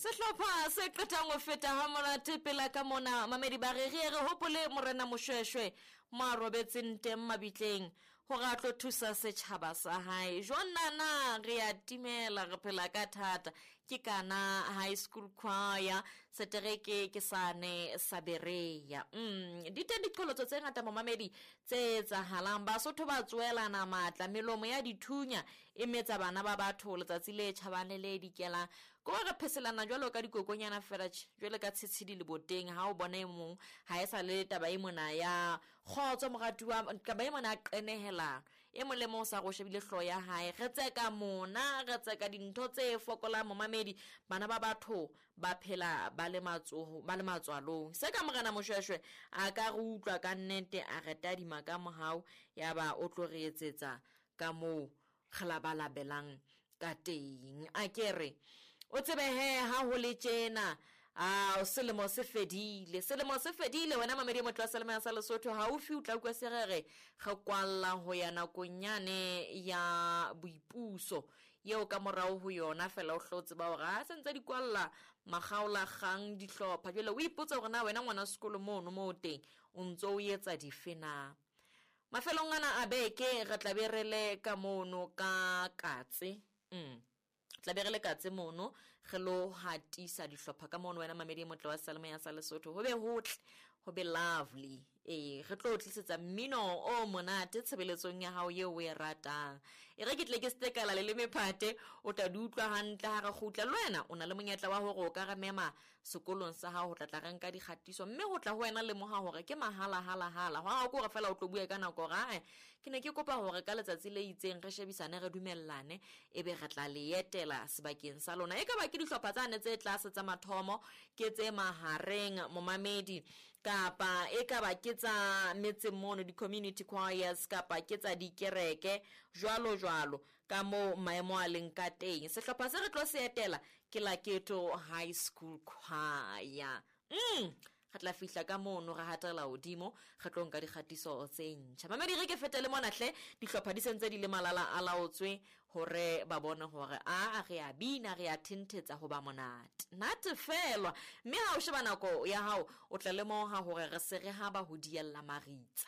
Sehlopha se qetang ho feta ha monate pela ka mona mamedi ba re re re hopole morena Moshweshwe mo a robetseng teng mabitleng hore a tlo thusa setjhaba sa hae. Jwang nana re a timela re phela ka thata ke kana high school choir setereke ke sane sa Berea. Di teng diqholotso tse ngata momamedi tse etsahalang. Basotho ba tsoelana matla melomo ya dithunya e metsa bana ba batho letsatsi le tjhabang le le dikelang. Ko re pheselana jwalo ka dikokonyana fela tje, jwale ka tshitshidi leboteng ha o bona e mong ha e sa le taba e mona ya kgotso moratuwa, taba e mona ya qenehelano. E mong le mong o sa re o shebile hlooho ya hae. Re tseka mona, re tseka dintho tse fokolang momamedi. Bana ba batho ba phela ba le matsoho, ba le matswalong. Se ka morena Moshweshwe a ka re utlwa ka nnete, a re tadima ka mohau, ya ba o tlo re etsetsa ka moo re labalabelang ka teng. A ke re o tsebe he ha ho le tjena, a selemo se fedile, selemo se fedile. Wena mamedi e motle wa Selemo sa Lesotho, haufi o tla utlwa se re re re kwalla ho ya nakong yane ya boipuso eo ka morao ho yona fela o hlo tseba hore ha se ntse di kwalla makgaola kgang dihlopha. Jwale o ipotsa hore na wena ngwana sekolo mono mo o teng o ntso o etsa dife na. Mafelong ana a beke re tla be re le ka mono ka katse. Tla be re le katse mono re lo hatisa dihlopha ka mono. Wena mamedi e motle wa Selemo ya sa Lesotho, ho be hotle, ho be lovely. Re tlo tlisetsa mmino o monate tshebeletsong ya hao eo o e ratang. E re ke tle ke se kala le le mephate, o tla di utlwa hantle ha re kgutla. Le wena o na le monyetla wa hore o ka re mema sekolong sa hao ho tla tla re nka dikgatiso, mme ho tla ho wena lemoha hore ke mahala hala hala. Hwa ko re fela o tlo bua ka nako hore, ae, ke ne ke kopa hore ka letsatsi le itseng re shebisane, re dumellane, ebe re tla le etela sebakeng sa lona. E ka ba ke dihlopha tsane tse tlase tsa mathomo, ke tse mahareng momamedi, kapa e ka ba ke tsa metseng mono, di-community choirs, kapa ke tsa dikereke, jwalo jwalo ka moo maemo a leng ka teng. Sehlopha se re tlo se etela ke Laketo High School Choir. Re tla fihla ka mono re hatela hodimo, re tlo nka dikgatiso tse ntjha. Mamedi, re ke fete le mona hle, dihlopha di sentse di le malala a laotswe hore ba bone hore a re a bina, re a thenthetsa ho ba monate. Natefelwa. Mme ha o sheba nako ya hao, o tla lemoha hore re se re haba ho diella maritsa.